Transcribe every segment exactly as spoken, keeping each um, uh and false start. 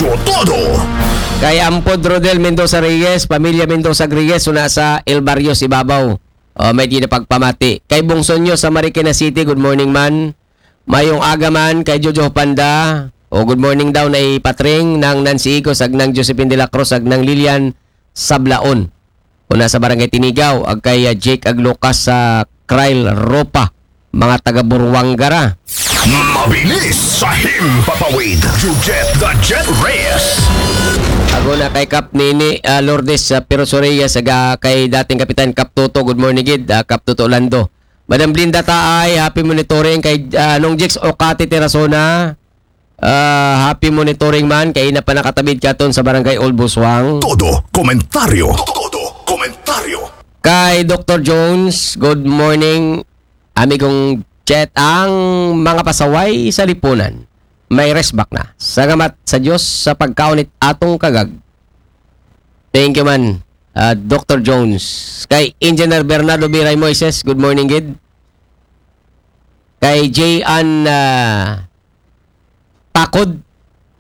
Todo. Kay Ampod Rodel Mendoza Reyes, pamilya Mendoza Reyes, una sa El Barrios, Ibabaw. O, may di na pagpamati. Kay Bungsonyo sa Marikina City, good morning man. Mayong aga man kay Jojo Panda. O, good morning daw na ipatring ng Nancy Igos, ag ng Josephine de la Cruz, ag ng Lilian Sablaon. Una sa Barangay Tinigaw, ag kay, ah, Jake ag Lucas sa Krail Ropa, mga taga Buruanga ra. Mabilis sa himpapawid. You get the jet race. Ag una kay Kap Nini, ah, Lourdes, ah, Piroso Reyes, ag, ah, kay dating Kapitan Kap Toto, good morning gid, ah, Kap Toto Lando. Madam Blinda Taay, happy monitoring kay, ah, Nong Jix Okate Terasona. Ah, happy monitoring man kay ina pa nakatabid katon sa Barangay Old Buswang. Todo komentaryo. Todo komentaryo. Kay Doctor Jones, good morning, amigong Chet, ang mga pasaway sa lipunan. May resbak na. Salamat sa Diyos sa pagkaunit atong kagag. Thank you man, ah, Doctor Jones. Kay Engineer Bernardo Biray Moises, good morning gid. Kay J. Ann, ah, Takod,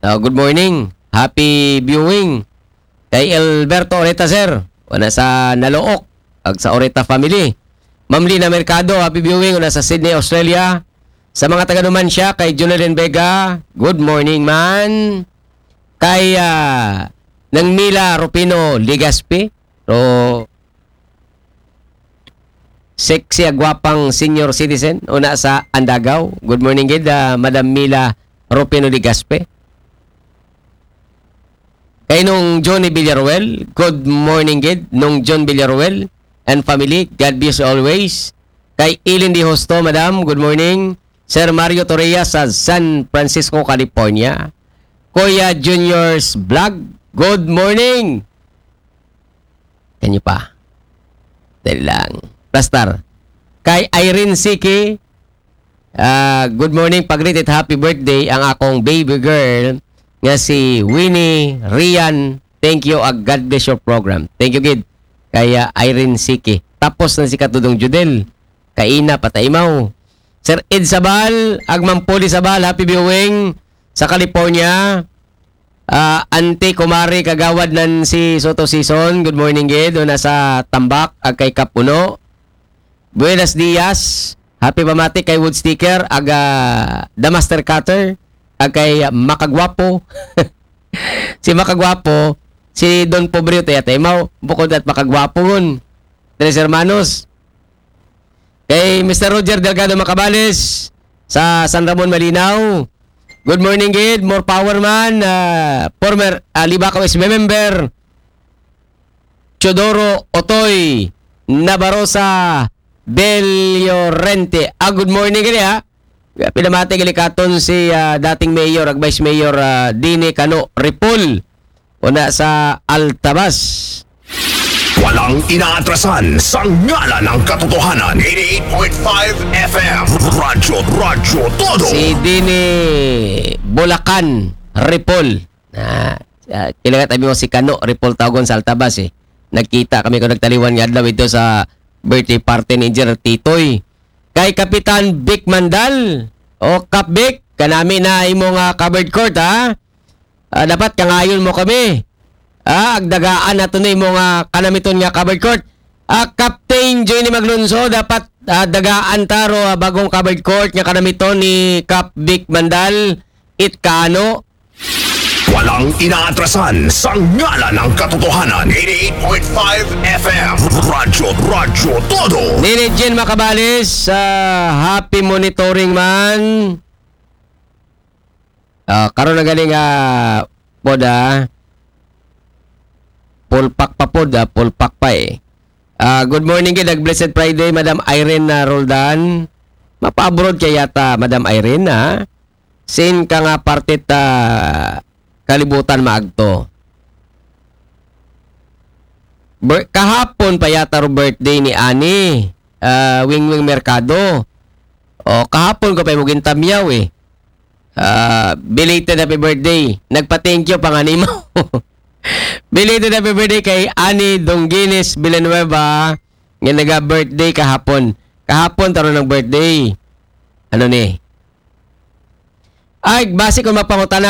ah, good morning. Happy viewing. Kay Alberto Oreta, sir. Una sa Nalook, ag sa Oreta family. Ma'am Lina Mercado, happy viewing. Una sa Sydney, Australia. Sa mga taga Numancia, kay Junelin Vega, good morning man. Kay, ah, Nang Mila Rufino Ligaspi, ro sexy agwapang senior citizen, una sa Andagaw. Good morning gid, ah, Madam Mila Rufino Ligaspi. Kay Nong Johnny Villaruel, good morning gid, Nong John Villaruel and family, God bless you always. Kay Eileen Di Hosto, Madam, good morning. Sir Mario Torreya sa San Francisco, California. Kuya Junior's Vlog, good morning. Kanyo pa. Dali lang. Plastar. Kay Irene Siki, ah, good morning, pag-greet at happy birthday ang akong baby girl nga si Winnie Rian. Thank you, ag God bless your program. Thank you gid kay, ah, Irene Siki. Tapos na si Katudong Judel. Kaina, pataimaw. Sir Ed Sabal, ag Ma'am Poli Sabal, happy viewing sa California. Ah, Auntie Kumari Kagawad Nancy Soto Season, good morning gid. Una sa Tambak, ag kay Kapuno. Buenos dias. Happy pamati kay Wood Sticker, ag, ah, The Master Cutter, ag kay Makagwapo. Si Makagwapo, si Don Pobre, taya taimaw, bukod at Makagwapo ngun. Tres Hermanos. Kay Mister Roger Delgado Macabales sa San Ramon, Malinaw. Good morning gid, more power man. Ah, former, ah, Libacao S B member Teodoro Otoy Nabarosa Del Llorente. Ah, good morning gid, ha. Pinamati gid katon si, ah, dating mayor, ag vice mayor, ah, Dini Kano Ripol. Una sa Altabas. Walang inaatrasan sa ngalan ng katotohanan. Eighty-eight point five F M. Radyo, Radyo Todo. Si Dini Bulacan Ripol. Ah, ah, kailangan tabi mo si Kano Ripol Tawgon sa Altabas, eh. Nagkita kami ko nagtaliwan nga adlaw ito sa birthday party ni Engineer Titoy. Kay Kapitan Vic Mandal, o Kap Vic, kanami na imo nga covered court, ha? Ah, dapat kangayon mo kami. Ah, agdagaan nato na imo nga kanamiton nga covered court. Ah, Captain Johnny Maglunso, dapat, ah, dagaan taro, ah, bagong covered court nga kanamiton ni Kap Vic Mandal, it Kano. Walang inaatrasan sa ngalan ng katotohanan. Eighty-eight point five F M. Radyo, Radyo Todo. Nini Jen Macabales, ah, happy monitoring man. Ah, karon na galing, ah, pod, ah. Full pack pa pod, ah, full pack pa, eh. Ah, good morning, gid, ag blessed Friday, Madam Irene, ah, Roldan. Mapa-abroad kay yata, Madam Irene, ha? Sin ka nga parte ta kalibutan maagto? Bir-, kahapon pa yata ro birthday ni Ani, ah, Wingwing Mercado. O, kahapon ko pa mo gintamyaw, eh. Ah, belated happy birthday. Nagpa-thank you pa nga nimo. Belated happy birthday kay Ani Dongginis Villanueva nga naga-birthday kahapon. Kahapon taro ng birthday. Ano ni? Ay, basi kung mapangutana